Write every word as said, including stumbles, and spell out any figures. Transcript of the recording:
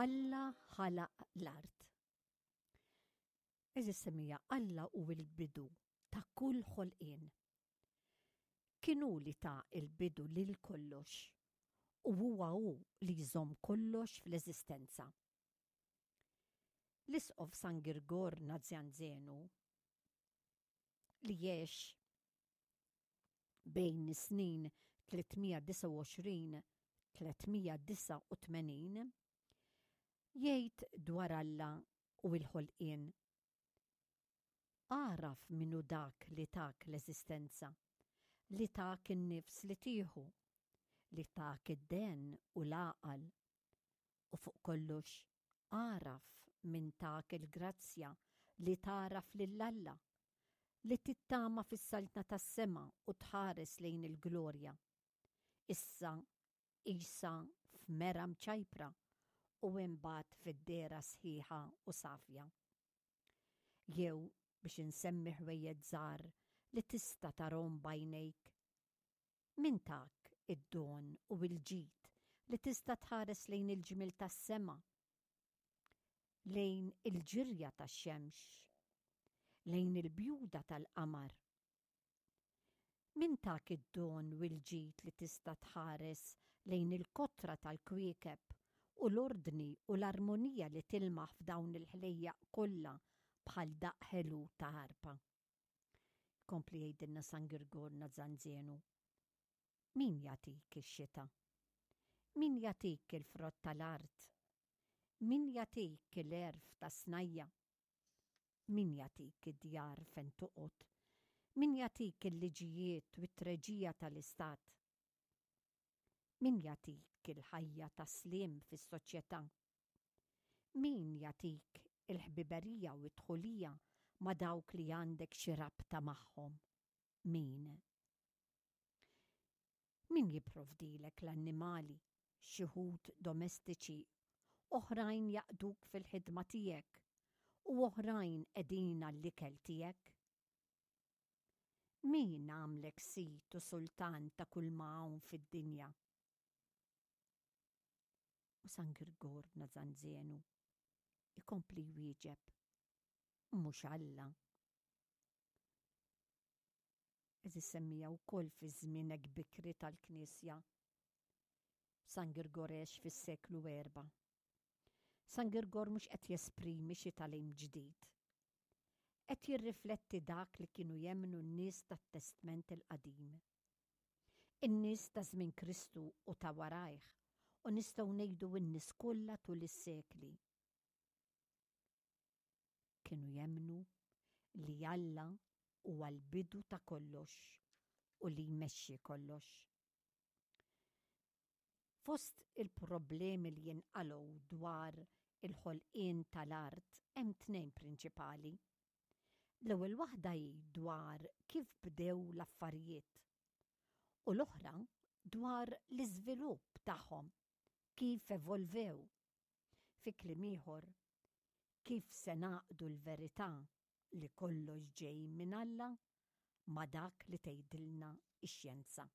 Alla ħalaq l-art. Għeżież semmiegħa, Alla hu l-bidu ta' kull ħolqien. Kien hu li ta l-bidu lil kollox u huwa hu li jżomm kollox fl-eżistenza. L-Isqof San Girgor Nazjanzenu, li għex bejn is-snin tliet mija disgħa u għoxrin tliet mija disgħa u tmenin, jgħid dwar Alla u l-ħolqien: "Agħraf min hu dak li tak l-eżistenza, li tak in-nifs li tieħu, li tak id-dehen u l-għaqal. U fuq kollox, agħraf min tak il-grazzja li tagħraf lil Alla, li tittama fis-saltna tas-sema u tħares lejn il-glorja. Issa qisha f'mera mċajpra u imbagħad fid-dehra sħiħa u safja. Jew biex insemmi ħwejjeġ żgħar li tista' tarahom b'għajnejk. Min tak id-don u l-ġid li tista' tħares lejn il-ġmiel tas-sema, lejn il-ġirja tax-xemx, lejn il-bjuda tal-qamar? Min tak id-don u l-ġid li tista' tħares lejn il-kotra tal-kwiekeb u l-ordni u l-armonija li tilmaħ f'dawn il-ħlejjaq kollha bħal daqq ħelu ta' arpa?" Kompli jgħidilna San Girgor Nazanzenu: "Min jagħtik ix-xita? Min jagħtik il-frott tal-art? Min jagħtik l-għerf tas-snajja? Min jagħtik id-djar fejn toqgħod? Min jagħtik il-liġijiet u t-treġija tal-istat? Min jagħtik il-ħajja ta' sliem fis-soċjetà? Min jagħtik il-ħbiberija u t-dħulija ma' dawk li għandek xi rabta magħhom? Min? Min jipprovdilek l-annimali, xi wħud domestiċi, oħrajn jaqduk fil-ħidma tiegħek u oħrajn qegħdin għall-ikel tiegħek? Min għamlek sid u sultan ta' kull ma hawn fid-dinja?" U San Girgor Nazanzenu ikompli jwieġeb: "Mhux Alla?" Għeżież semmiegħa, wkoll fi żmien hekk bikri tal-Knisja, San Girgor għex fis-seklu erba'. San Girgor mhux qed jesprimi xi tagħlim ġdid. Qed jirrifletti dak li kienu jemmnu n-nies tat-Testment il-Qadim. In-nies ta' żmien Kristu u ta' warajh, u nistgħu ngħidu n-nies kollha tul is-sekli. Kienu jemmnu li Alla huwa l-bidu ta' kollox u li jmexxi kollox. Fost il-problemi li jinqalgħu dwar il-ħolqien tal-art hemm tnejn prinċipali. L-ewwel waħda hi dwar kif bdew l-affarijiet u l-oħra dwar l-iżvilupp tagħhom, kif evolvew. Fi kliem ieħor, kif se nagħqdu l-verità li kollox ġej minn Alla ma' dak li tgħidilna x-xjenza.